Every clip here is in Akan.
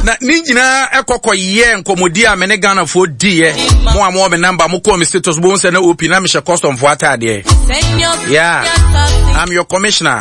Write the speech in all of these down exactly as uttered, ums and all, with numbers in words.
Na ne nyinaa ɛkɔkɔ yɛ nkɔmmɔdi a me ne Ghanafoɔ diiɛ. Mo a mowɔ me number, mokɔɔ me status, bohu sɛ na op na mehyɛ customfoɔ ataadeɛ. Yeah, I'm your commissioner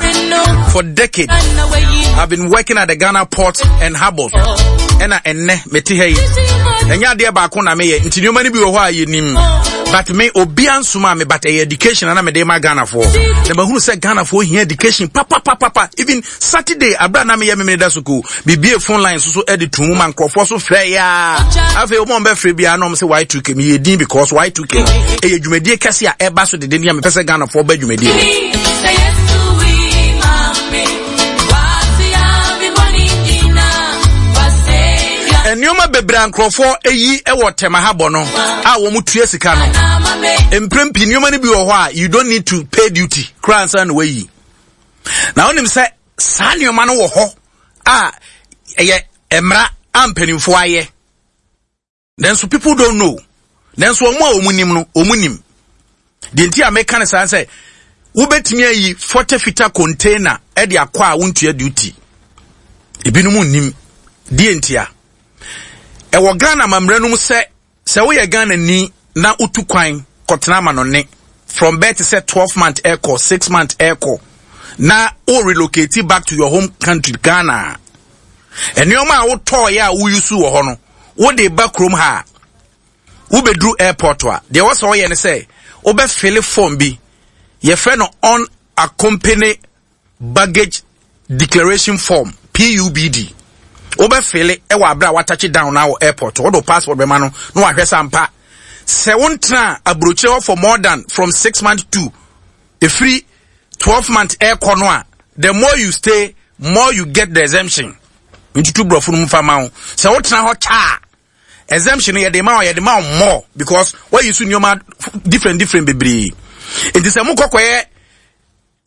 for decades. I've been working at the Ghana Port and Harbors. Ɛna ɛnnɛ mete ha yi, ɛnyɛ adeɛ baako na meyɛ, nti nneɛma no bi wɔ hɔ a yɛnim, but me obia nsoma me, but ɛyɛ education na mede ma Ghanafoɔ, na mahunu sɛ Ghanafoɔ hia education papapapapa. Even Saturday abira na meyɛ memene da so ko bibie phone line so so ɛde tu mu ma nkurɔfoɔ so frɛ yaa. Afei wɔn a wɔbɛfrɛ biara na wɔn sɛ Y two K meyɛ din because Y two K ɛyɛ dwumadie kɛse a ɛba so dede ne a mepɛ sɛ Ghanafoɔ ba dwumadie no. Nneɛma bebree a nkurɔfoɔ ayi wɔ Tema ha bɔ no a wɔn tua sika no, mprɛn pii nneɛma no bi wɔ hɔ a you don't need to pay duty koraa nsa na wayi. Na wonim sɛ saa nneɛma no wɔ hɔ a ɛyɛ mmara a mpanimfoɔ ayɛ, nanso people don't know. Nanso wɔn a wɔn nim no, wɔn nim deɛ nti a meka no saa sɛ wobɛtumi ayi forty footer container ɛde akɔ a wontua duty. Ebinom nnim deɛ nti a ɛwɔ Ghana mammerɛ no mu sɛ sɛ woyɛ Ghana ni na wotu kwan kɔtena ama no ne from bɛɛ te sɛ twelve month ɛkɔ, six month ɛkɔ, na wo relocate back to your home country Ghana, nneɛma a wotɔɔyɛ a woyusu wɔ hɔ no, wode ba kurom ha a, wobɛduru airport a, deɛ wɔ sɛ ɔyɛ ne sɛ wobɛfill form bi, yɛfrɛ no unaccompanied baggage declaration form, P U B D. Wobɛfill ɛwɔ abere a watouch down na wɔ airport, wode wo passport bɛma no na wahwɛ sɛ ampa sɛ wontena aburokyire hɔ for more than from six months to ɛfiri twelve months ɛrekɔ no a, the more you stay, more you get the exemption. Ntutu borɔfo no mu fa ma wo sɛ wotena hɔ kyaa, exemption no yɛde ma wo, yɛde ma wo more because wɔyi so nneɛma different different bebree. Nti sɛ mokɔkɔyɛ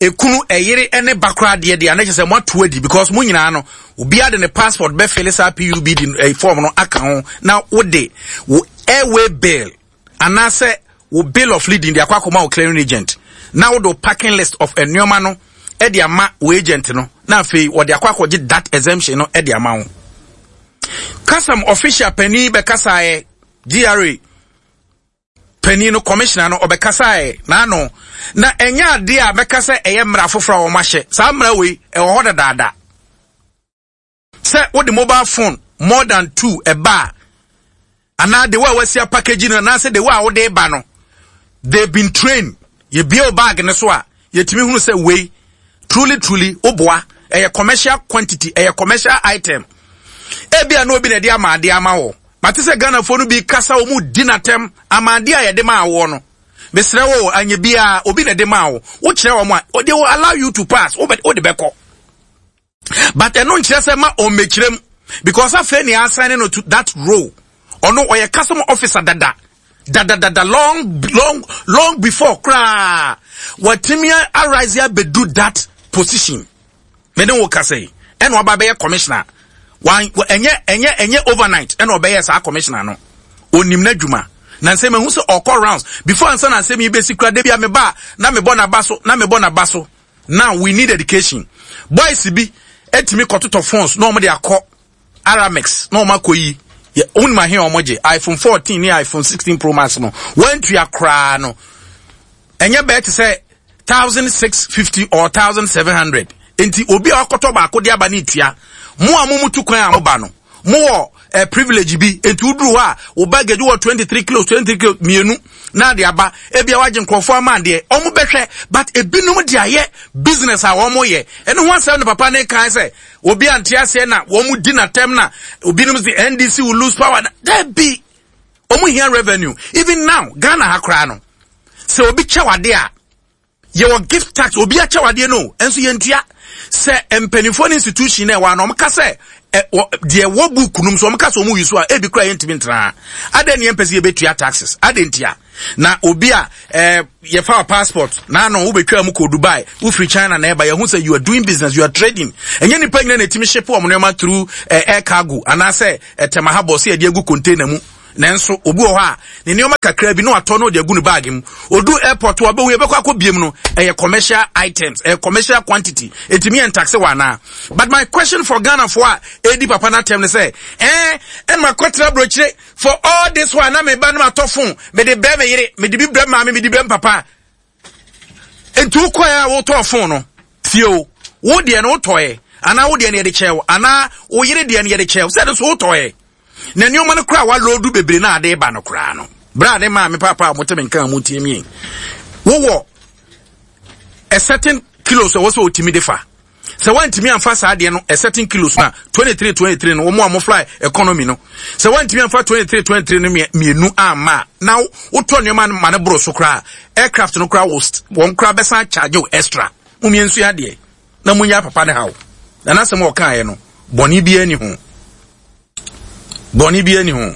ekunu, ɛyere ne ba koraa deɛ deɛ anɛ kyerɛ sɛ moato adi because mo nyinaa no, obiara de ne passport bɛfill saa P U B D eh, form no aka ho, na wode wo airway bill anaasɛ wo bill of lading de akɔ akɔma wo clearing agent, na wode wo packing list of nneɛma no de ama wo agent no, na afei wɔde akɔ akɔgye that exemption no de ama wo. Custom official panin bɛkasaeɛ, G R A panin no, commissioner no, ɔbɛkasaeɛ n'ano na ɛnyɛ adeɛ a bɛka sɛ ɛyɛ mmara foforɔ a wɔn ahyɛ. Saa mmara wei ɛwɔ hɔ dadaada sɛ wode mobile phone more than two ɛba a, anaa de wo a wasia package no, anaasɛ de wo a wode ba no, they been trained. Yɛbie wo bag no so a, yɛtumi hunu sɛ wei truly truly woboa, ɛyɛ commercial quantity, ɛyɛ commercial item. Ebia na obi na ɛde ama adeɛ ama wɔ mate sɛ Ghanafoɔ no bi kasa, wɔn mu di n'atɛm ama adeɛ a yɛde maa wɔ no. Mesrɛ wo, anya biara obi na ɛde maa wo, wokyerɛ wɔn a, they will allow you to pass. Wode bɛkɔ, but ɛno nkyerɛ sɛ ma ɔmmɛkyerɛ mu because afei ne assign no to that role. Ɔno ɔyɛ custom officer dada dada dada, long long long before koraa watumi arise abɛdu that position. Mene wo kasa yi, ɛna ɔba bɛyɛ commissioner. Wan ɛnyɛ ɛnyɛ ɛnyɛ overnight ɛna ɔbɛyɛ saa commissioner no. Onim n'adwuma na nsɛm ehu sɛ ɔkɔ rounds before ansa na nsɛm yi bɛsi kura. Debi a meba na mebɔ n'aba so, na mebɔ n'aba so. Now we need education. Boys bi etumi kɔtotɔ phones na wɔn de akɔ Aramex na wɔn akɔ yi yɛ wɔn ahe a wɔn gye iPhone fourteen ne iPhone sixteen Pro Max no, wɔntua koraa no, ɛnyɛ bɛɛ te sɛ thousand six fifty or thousand seven hundred. Nti obi a ɔkɔtɔ baako de aba ne tua mo a mo mu tu kwan a mo ba no, mo wɔ eh, privilege bi. Nti woduru hɔ a, wo baggage wɔ twenty three kilos, twenty three kilos mmienu na de aba, ebi a wagye nkurɔfoɔ ama adeɛ, ɔmo bɛhwɛ. But ebinom de ayɛ business a wɔn yɛ. Ɛno ho asɛm ne papa ne kan sɛ obi ante aseɛ na wɔn di n'atɛm na obinom sɛ N D C will lose power. Dabi, wɔn hia revenue. Even now, Ghana ha koraa no, sɛ obi kyɛ wade a, yɛwɔ gift tax. Obi akyɛ wadeɛ no nso, yɛntua. Sɛ mpanimfoɔ no institution na ɛwɔ ano, ɔmo ka sɛ ɛ wɔ deɛ ɛwɔ book no mu so, ɔmo ka sɛ ɔmo yi so a, ebi kura yɛntumi ntena. Adan ne yɛn mpɛ sɛ yɛbɛtua taxes adan ntia na obi a ɛɛ yɛfa wa passport n'ano wobɛtwa mu kɔ Dubai, wofiri China na ɛba, yɛho sɛ you are doing business, you are trading. Ɛnyɛ nipa nyina na ɛtumi ship wɔn nneɛma through ɛɛ air cargo anaasɛ ɛtɛm ahabɔ sɛ yɛde agu container mu. Nanso obi wɔ hɔ a ne nneɛma kakra bi na watɔ na ɔde agu ne bag mu. Odu airport a ɔbɛhu yɛbɛkɔ akɔ biem no, ɛyɛ commercial items, ɛyɛ commercial quantity. Ɛtumi yɛ ntaxe wɔ anaa? But my question for Ghana foɔ a ɛdi papa no atɛm ne sɛ, ɛɛ ɛna makɔtena aburokyire for all this while na meba na matɔ phone, mede brɛ me yere, mede bi brɛ maame, mede brɛ me papa. Nti wokɔɛ a wotɔɔ phone no, tie o, wo deɛ no wotɔɛ, anaa wo deɛ no yɛde kyɛɛ wo, anaa wo yere deɛ no yɛde kyɛɛ wo, sɛ ɛno nso wotɔɛ. Na nneɛma no koraa waloodu bebree na ade ba no koraa no, bere a ne maame papa a wɔte me nka a wɔtie mi, wowɔ a certain kilos a ɛwɔ sɛ wɔtumi de fa. Sɛ wɔntumi amfa saa adeɛ no a certain kilos na twenty three twenty three no, wɔn a wɔn fly economy no, sɛ wɔntumi amfa twenty three twenty three no mmienu amma, na wotɔ nneɛma no ma no boro so koraa, aircraft no koraa wɔn koraa bɛsan charge wo extra. Mo mmiɛnsu adeɛ na mo nya papa ne haw na n'asɛm a ɔkaeɛ no, bɔnne bi ani ho, bɔnne bi ani ho.